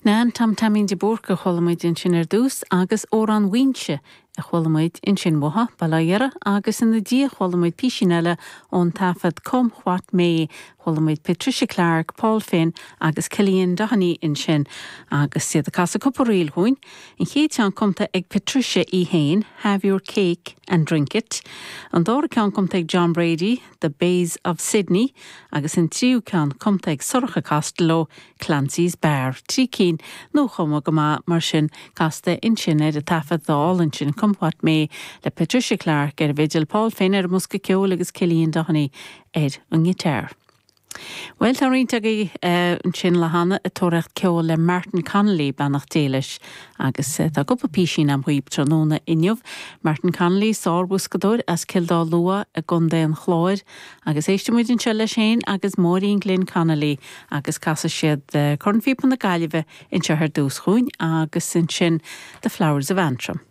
Nan Tom Taimín de Búrca a chuala muid ansin ar dtús agus Amhrán Mhaínse a chuala muid ansin uathu, bail ó Dhia orthu, agus ina diaidh chuala muid písín eile ón taifead Come What May, chuala muid Patricia Clarke, Paul Finn agus Cillian Doheny ansin agus iad ag casadh cúpla ríl dhúinn. An chéad cheann cumtha ag Patricia í féin, Have Your Cake and Drink It, an dara ceann cumtha ag John Brady, The Bays of Sydney agus an tríú ceann cumtha ag Sorcha Costello, Clancy's Bar, 3 cinn nuachumtha go maith mar sin, casta ansin ar an taifead álainn sin Come What May le Patricia Clarke ar an bhfidil, Paul Finn ar an mbosca ceoil agus Cillian Doheny ar an ngiotár. Bhuel, tá roinnt agaibh ansin le hAnna ag tóraíocht ceoil le Martin Connolly, beannacht Dé leis, agus tá cúpla písín agam dhaoib tráthnóna inniu. Martin Connolly, sár-bhoscadóir as Cill Dá Lua i gContae an Chláir, Agus éistfidh muid anseo leis féin agus Máirín Glynn Connolly agus casfaidh siad Cornphíopa na Gaillimhe anseo ar dtús dhúinn agus ansin The Flowers of Antrim.